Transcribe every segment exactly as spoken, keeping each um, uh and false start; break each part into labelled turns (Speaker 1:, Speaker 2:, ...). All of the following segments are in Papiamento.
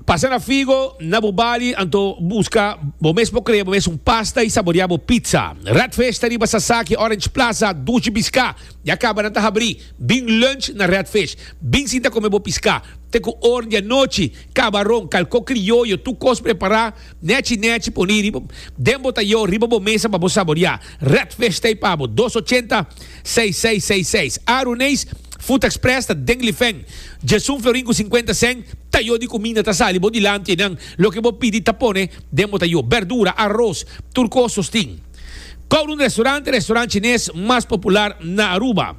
Speaker 1: Pasa na Figo, na Bubali, anto busca bo mes por crea bo mes un pasta y saborea bo pizza. Red Fish ta riba Sasaki, Orange Plaza, dushi pisca. Ya caba nan ta habri. Bin lunch na Red Fish. Bin sinta come bo pisca. Te cu or di anochi, cabaron, calco crioyo, tur cos prepara, nechi nechi poni riba, den bo tayo, riba bo mesa pa bo saborea. Red Fish t'ey pa bo, dos ochenta, seis seis seis seis. Aruneis Food Express ta den Lifeng. Djesun florin cu cincuenta cent, tayo di cuminda ta sali bo dilanti einan. Loke bo pidi ta pone den bo tayo. Berdura, arroz, tur cos sostin. Kowloon Restaurant, restaurant chines mas popular na Aruba.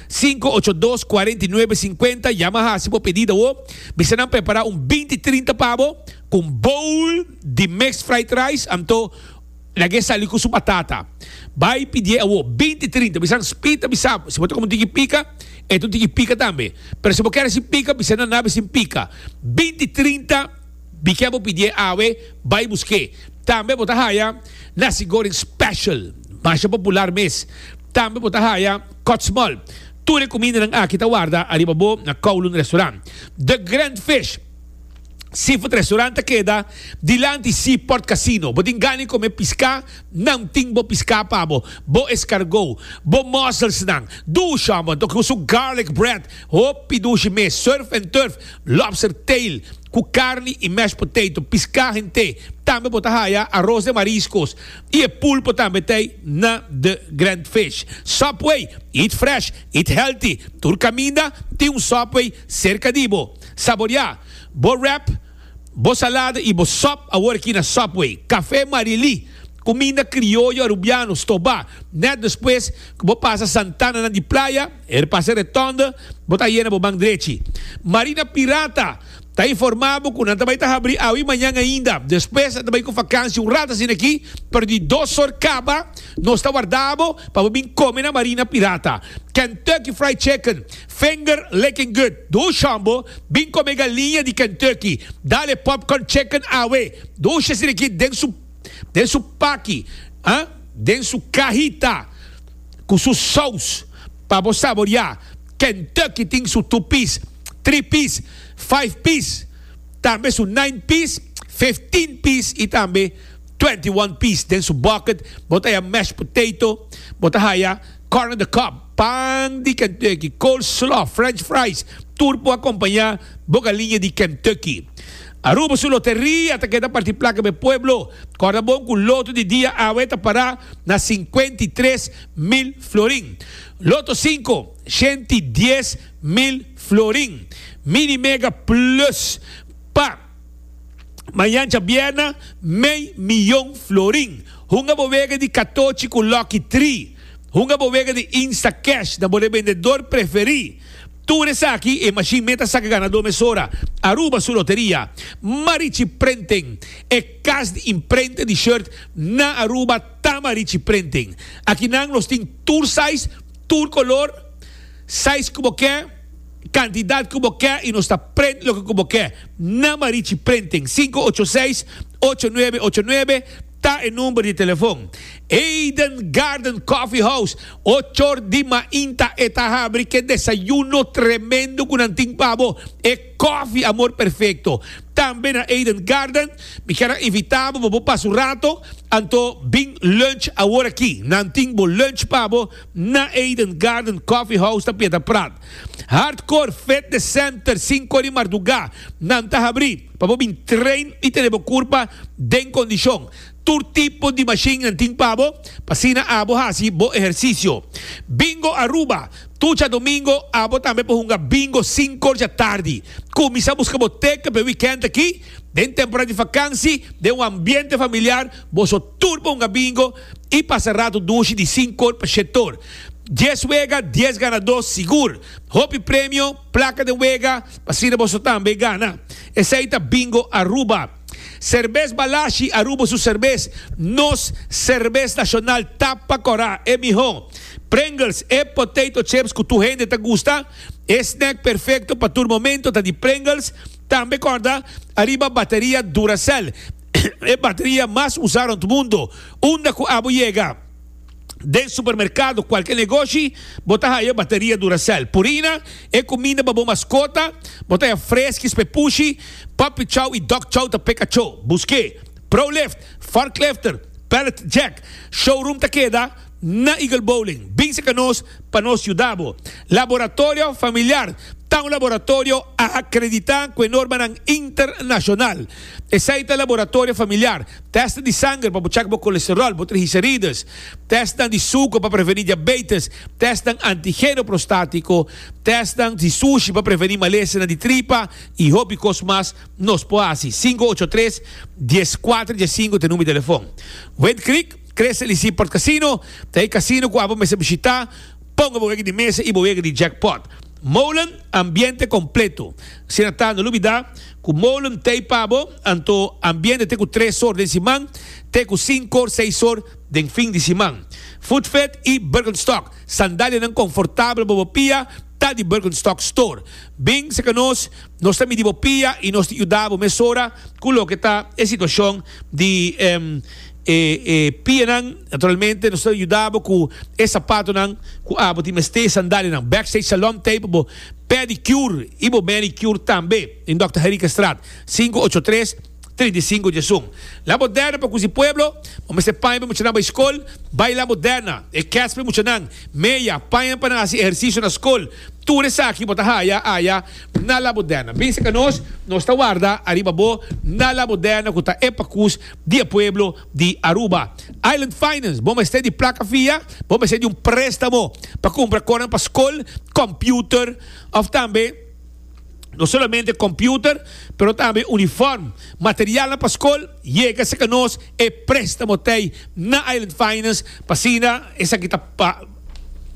Speaker 1: Cinco ocho dos, cuarenta y nuebe cincuenta, yama haci bo pedido awo. Bisa nan prepara un binti trinta pa bo cu un bowl di mixed fried rice, anto lag'é sali ku su batata. Bai pidié awo, binti trinta. Bisa nan spita bisa, si bo ta kome un tiki pika, e ta un tiki pika tambe. Pero si bo kere sin pika, bisa nan nabe sin pika. Binti trinta, bik'é bo pidié awe, bai busk'é. Tambe bo ta haya nasi goreng special, masha popular mes. Tambe bo ta haya kotsmol. Tur e kumindanan aki ta warda ariba bo na Kowloon Restaurant. The Grand Fish. Seafood Restaurant ta keda dilanti Seaport Casino. Bo tin gana di come pisca? Nan tin bo pisca pa bo. Bo escargot, bo musselsnan, dushi amo, anto cu su garlic bread, hopi dushi mes, surf and turf, lobster tail cu carni y mashed potato, pisca hente. Tambe bo ta haya arroz de mariscos y e pulpo tambe t'ey na The Grand Fish. Subway, eat fresh, eat healthy. Tur caminda tin un Subway cerca di bo. Saborea bo wrap, bo salada y bo sop awor aki na Subway. Café Marily, cuminda crioyo Arubiano, stoba. Net despues cu bo pasa Santana nan di playa, er pasa retonde, bo ta yena bo man drechi. Marina Pirata ta informa bo cu nan ta bay ta habri awe y mañan ainda. Despues nan ta bay cu vakantie un rato asina aki, pero di dos or caba nos ta warda bo pa bo bin come na Marina Pirata. Kentucky Fried Chicken, finger licking good. Dushi hombo, bin come galiña di Kentucky. Dale popcorn chicken awe. Dushi asina aki den su den su paki, ah, den su cahita cu su saus pa bo saborea. Kentucky tin su two piece, three piece, five piece, tambe su nine piece, fifteen piece y tambe twenty one piece. Den su bucket bo ta haya mashed potato, bo ta haya corn on the cob, pan di Kentucky, coleslaw, french fries, tur por acompaña bo galiña di Kentucky. Aruba su loteria ta keda parti placa pa e pueblo. Corda bon cu loto di dia awe ta para na cincuenta y tres mil florin. Loto cinco, shenti y dies mil florin. Mini Mega Plus pa mañan djabièrnè, mei miyon florin. Hunga bo wega di katochi ku Lucky Tree. Hunga bo wega di Instacash na bo rebendedor preferí. Tur esaki e mashin meta saka ganadó mesora. Aruba su loteria. Marichi Printing, e kas di imprenta di shirt na Aruba ta Marichi Printing. Akinan nos tin tur size, tur kolor, size ku bo ke, kantidat ku bo ke i nos ta print loke ku bo ke na Marichi Printing. Sinku ocho seis, ocho nuebe ocho nuebe ta e number di telefon. Eden Garden Coffee House, ochor di mainta e ta habri ke desayuno tremendo ku nan tin pa bo. E koffie amor perfecto. Tambe na Eden Garden, mi kier a invita bo pa bo pasa un rato, anto bin lunch awor aki. Nan tin bo lunch pa bo na Eden Garden Coffee House ta Piedra Prat. Hardcore Fitness Center, cinco di marduga, nan ta habri pa bo bin train y tene bo curpa den condicion. Tur tipo di machine nan tin pa bo, pa asina abo haci bo ehercicio. Bingo Aruba, Tur djadomingo abo tambe por hunga bingo sinku or djatardi. Kuminsá buska bo teken pa e wikènt aki. Den temporada di fakansi, den un ambiente familiar, boso tur por hunga bingo i pasa ratu dushi di sinku or pa shete or. Dies wega, dies ganadó sigur. Hopi premio, plaka den wega, pa asina boso tambe gana. Esei ta Bingo Aruba. Serbes Balashi, Aruba su serbes, nos serbes nacional tapa cora, e miho. Pringles, e potato chips cu tur hende ta gusta, e snack perfecto pa tur momento ta di Pringles. Tambe corda ariba bateria Duracell, e bateria mas usa rond mundo, unda cu abo yega. Den supermercado, cualke negoshi, bo ta haya bateria Duracell. Purina, e cuminda pa bo mascota, bo ta haya Friskies p'e pushi, Puppy Chow y Dog Chow ta p'e cacho. Busque Prolift, Forklifter, Pallet Jack. Showroom ta keda na Eagle Bowling. Bin cerca nos pa nos yuda bo. Laboratorio Familiar ta un laboratorio acredita cu e normanan internacional. Esey ta Laboratorio Familiar. Test di sanger pa bo check bo colesterol, bo triglicerides. Testnan di suco pa preveni diabetes. Testnan antigeno prostatico. Testnan di sushi pa preveni malesanan di tripa y hopi cos mas nos por haci. Cinco ocho tres, dies cuatro dies cinco ta e numero di telefon. Wind Creek, Crystal y Seaport Casino ta e casino cu abo mester bishita. Ponga bo wega di mesa y bo wega di jackpot. Molen, ambiente completo. Asina ta, no lubida cu Molen t'ey pa bo, anto ambiente te cu tres or den siman, te cu cinco or, seis or den fin di siman. Footfit y Birkenstock, sandalianan confortabel pa bo pia, ta di Birkenstock Store. Bin cerca nos, nos ta midi bo pia y nos ta yuda bo mesora cu loke ta e situacion di e e pianan. Naturalmente nos ta yuda bo cu e sapatonan cu abo tin mester, e sandalianan. Backstage Salon ta pa bo pedicure y bo manicure tambe den Dòkter Henriquezstraat, sinku ocho tres, trinta i sinku diesun. La Moderna pa cusi pueblo, bo mester paña pa muchanan bay scol, bay La Moderna. E kets pa e muchanan, meya, paña pa nan haci ehercicio na scol, tur esaki bo ta haya aya na La Moderna. Bin cerca nos, nos ta warda ariba bo na La Moderna cu ta e pacus di e pueblo di Aruba. Island Finance, bo mester di placa fia, bo mester di un prestamo pa cumpra conan pa scol, computer of tambe no solamente computer, pero tambe uniform, materialnan pa scol, yega cerca nos, e prestamo t'ey na Island Finance, pa asina esaki ta pa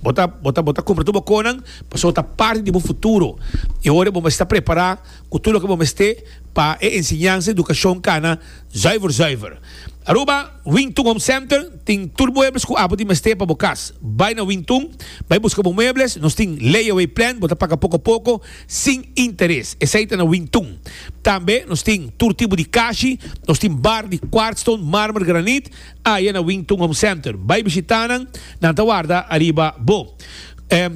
Speaker 1: bo ta, bo ta, bo ta cumpra tur bo conan, pasobra ta parti di bo futuro. E ora bo mester ta prepara cu tur loke bo mester pa e enseñansa, educacion cana zuiver zuiver. Aruba, Wingtung Home Center tin tur muebles cu abo tin mester pa bo cas. Bay na Wingtung, bay busca bo muebles. Nos tin layaway plan, bo ta paga poco poco, sin interes. Esey ta na Wingtung. Tambe nos tin tur tipo di kashi, nos tin bar di quartzstone, marmer, granit, aya na Wingtung Home Center. Bay bishita nan, nan ta warda ariba bo.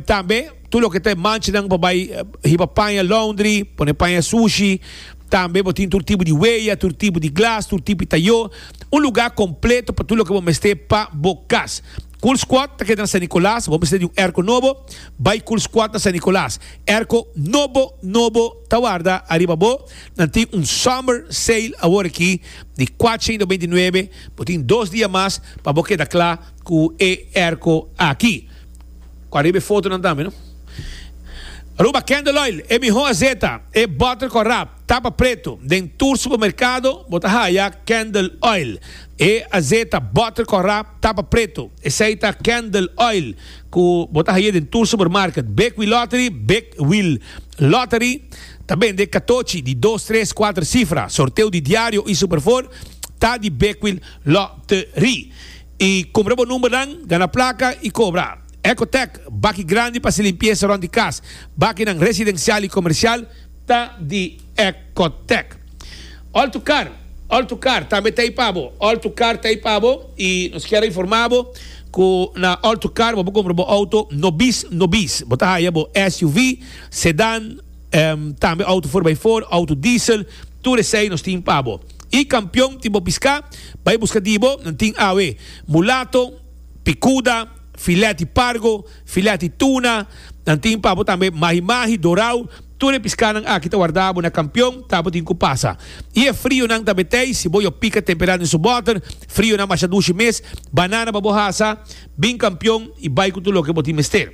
Speaker 1: Tambe tur loke ta e manchanan pa bay hiba paña laundry, pone paña sushi. Tambe bo tin tur tipo di weya, tur tipo di glas, tur tipo di tayo. Un lugar completo pa tur loke bo mester pa bo cas. Cool Squad ta keda na San Nicolas. Bo mester di un airco nobo, bay Cool Squad na San Nicolas. Airco nobo, nobo ta warda ariba bo. Nan tin un summer sale awor aki di cuatrocientos noventa i nuebe. Bo tin dos dia mas pa bo keda cla cu e airco aki. Cu ariba e fotonan tambe, no? Aruba Candle Oil, e miho azeta, e butter cu rap, tapa preto. Den tur supermercado bo ta haya Candle Oil. E azeta, butter cu rap, tapa preto. Esey ta Candle Oil cu bo ta haya den tur supermarket. Big Wheel Lottery, Big Wheel Lottery ta bende catochi di dos, tres, cuater cifra. Sorteo di diario y Super Four ta di Big Wheel Lottery. Y cumpra bo numbernan, gana placa y cobra. Ecotec, baki grandi pa haci limpieza rond di cas. Bakinan residencial y comercial ta di Ecotec. All to Car, All to Car tambe ta ey pa bo. All to Car ta ey pa bo y nos kier a informa bo cu na All to Car bo por cumpra bo auto nobis nobis. Bo ta haya bo S U V, sedan, tambe auto four by four, auto diesel, tur esey nos tin pa bo. Y campeon tin bo pisca, bay busca di bo, nan tin awe mulato, picuda, filet di pargo, filet di tuna, nan tin pa bo tambe mahi mahi, dorau, tur e piscanan aki ta warda bo na campeon, ta bo tin cu pasa. Y e frionan tambe tey, si bo yo pica tempera den su boter, frionan masha dushi mes, banana pa bo hasa, bin campeon y bay cu tur loke bo tin mester.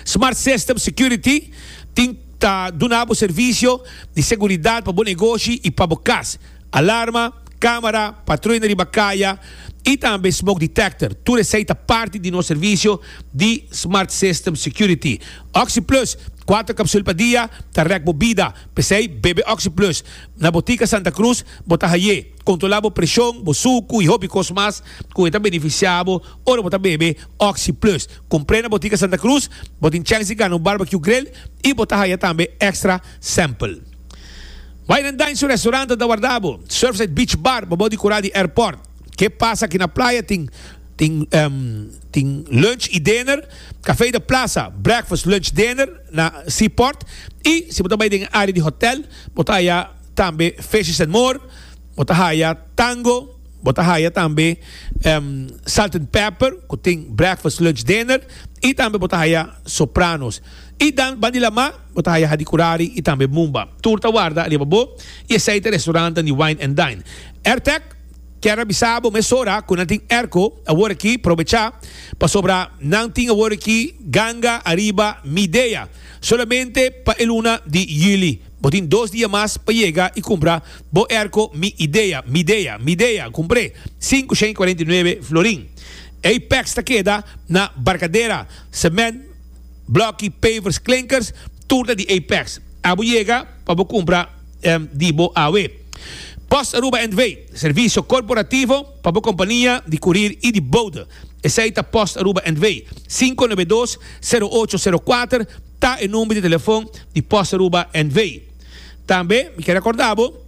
Speaker 1: Smart System Security tin ta duna bo servicio di seguridad pa bo negoshi y pa bo cas. Alarma, camera, patruina riba caya y tambe smoke detector. Tur esey ta parti di nos servicio di Smart System Security. OxyPlus, cuatro capsul pa dia, ta rek bo bida. P'esey, bebe OxyPlus. Na Botica Santa Cruz bo ta haye. Controla bo presion, bo sucu y hopi cos mas cu e ta beneficia bo ora bo ta bebe OxyPlus. Cumpre na Botica Santa Cruz, bo tin chance di gana un barbecue grill y bo ta haya tambe extra sample. Wine and Dine su restaurant ta warda bo. Surfside Beach Bar, bo bo di cura di airport. Ke pasa aki na playa tin Tin um, tin lunch y dinner. Café de Plaza, breakfast, lunch, dinner na Seaport. Y si bo bay den area di hotel, bo ta haya tambe Fishes and More, bo ta haya Tango, bo ta haya tambe um, Salt and Pepper, cu tin breakfast, lunch, dinner. Y tambe bo ta haya Sopranos. Y dan banda di lama, bo ta haya Hadicurari y tambe Mumba. Tur ta warda riba bo y esey ta restaurant di Wine and Dine. AirTech kier avisa bo mesora cu nan tin airco awor aki, aprovecha, pasobra nan tin awor aki ganga ariba Midea solamente pa e luna di juli. Bo tin dos dia mas pa yega y cumpra bo airco Mi Idea, Midea, Midea, cumpra cinco shen cuarenta y nuebe florin. Apex ta keda na Barcadera, cement, bloki, pavers, klinkers, tur ta di Apex. Abo yega pa bo cumpra um, di bo awe. Post Aruba N V, servicio corporativo pa bo compania di courier y di bode. Esey ta Post Aruba N V. cinco nuebe dos, cero ocho cero cuater ta e number di telefon di Post Aruba N V. Tambe, mi kier recorda bo,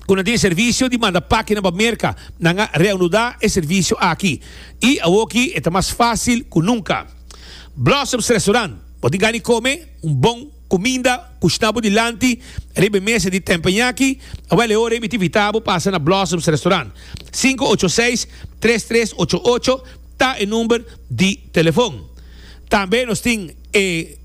Speaker 1: cu tin servicio di manda pakete pa Merca, nan a reanuda e servicio aki. Y aki ta mas facil cu nunca. Blossoms Restaurant, bo tin come un bon cuminda, cushina bo dilanti, riba mesa di teppanyaki, awel e ora mi ta invita bo pasa na Blossoms Restaurant. cinco ocho seis, tres tres ocho ocho ta e number di telefon. Tambe nos tin e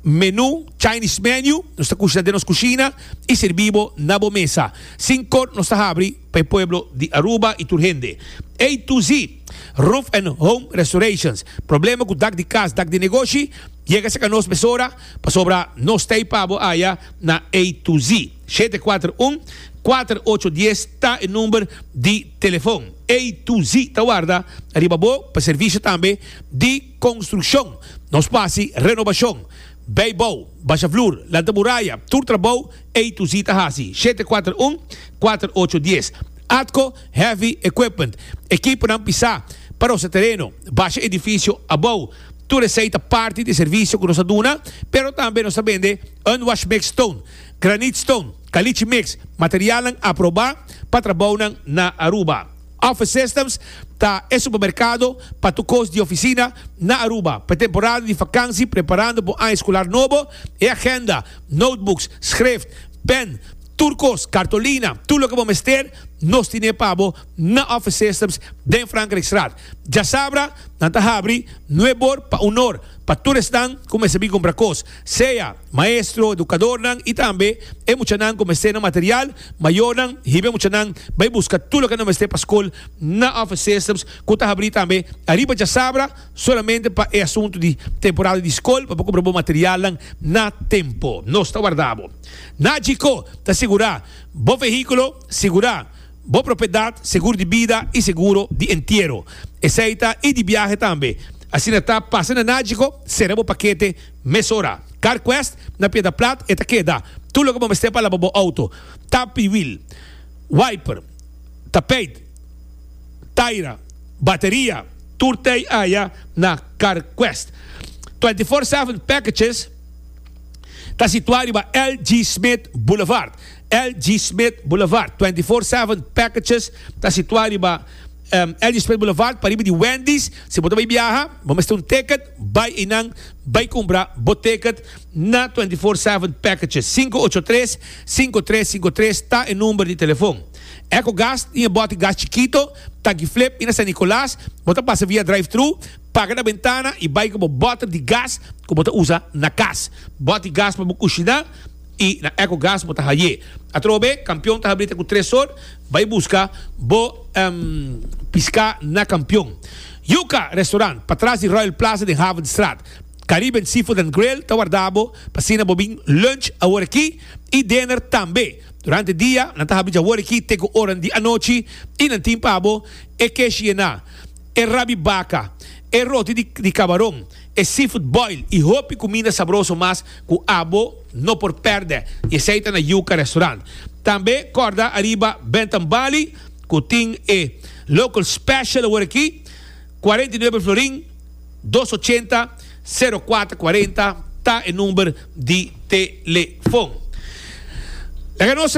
Speaker 1: menu, Chinese menu, nos ta cushina den nos cushina y sirbi bo na bo mesa. Cinco or nos ta habri pa e pueblo di Aruba y tur hende. A to Z, Roof and Home Restorations. Problema cu dak di cas, dak di negoshi, yega serca nos mesora, pasobra nos t'ey pa bo aya na A to Z. shete cuater un, cuater ocho dies ta e number di telefon. A to Z ta warda ariba bo pa servicio tambe di construccion. Nos ta haci renovacion. Bijbouw, basha vloer, lanta muraya, tur trabou, A to Z ta haci. shete cuater un, cuater ocho dies. Atco Heavy Equipment. Ekiponan pisa pa e tereno. Basha edificio abou. Tur esey ta parti di servicio cu nos ta duna, pero tambe nos ta bende unwash mix stone, granite stone, caliche mix, material aproba pa trabou na Aruba. Office Systems ta e supermercado pa tur cos di oficina na Aruba. Pa temporada di vakantie, preparando pa aña escolar nobo, e agenda, notebooks, schrift, pen, tur cos, cartolina, tur loke bo mester, nos tin pa bo na Office Systems den Frankrijkstraat. Diasabra, nan ta habri, nuebe or pa un or, pa tur esnan cuminsa cumpra cos. Sea maestro, educadornan, y tambe e muchanan cu mester material, mayornan, hiba e muchanan, bay busca tur loke nan mester pa scol na Office Systems, cu ta habri tambe ariba diasabra, solamente pa e asunto di temporada di scol, pa cumpra bon material na tempo. Nos ta warda bo. Nagico, ta segura bo vehiculo, segura bo propiedad, seguro di bida y seguro di entiero. Esey ta y di biahe tambe. Asina ta, pasa na Nagico, sera bo pakete mesora. CarQuest na Piedra Plat e ta keda. Tur loke bo mester pa laba bo auto. Tapi wheel, wiper, tapijt, taira, bateria, tur t'ey aya na CarQuest. twenty-four seven Packages ta situa riba L G. Smith Boulevard. L G. Smith Boulevard. twenty-four seven Packages ta situa riba um, L G. Smith Boulevard, pariba di Wendy's. Si bo bay biaha, bo mester un ticket, bay einan, bay cumpra bo ticket na twenty-four seven Packages. cinco ocho tres, cinco tres cinco tres ta e number di telefon. EcoGas, tin bote gas chikito, tanki Flip, y na San Nicolas, bo ta pasa via drive-thru, paga na bentana y bay cu bote di gas, cu bo ta usa na cas. Bote gas pa cushina y na EcoGas bo ta hay'e. Atrobe, Campeon ta habri cu tres or, bay busca bo um, pisca na Campeon. Yuca Restaurant, patras di Royal Plaza di Havenstraat. Caribbean Seafood and Grill, ta warda bo, pa asina bo bin lunch awor aki y dinner tambe. Durante dia, nan ta habri awor aki, te ora di anochi, y nan tin pa bo, e keshi na, e rabi baca, e roti di, di cabaron, e seafood boil, y hopi cuminda sabroso mas cu abo no por perde. Y esey ta na Yuca Restaurant. Tambe, corda ariba Bentam Bali, cu tin e local special awor aki, cuarenta y nuebe florin, dos ochenta cero cuater cuarenta ta e number di telefon. Laga nos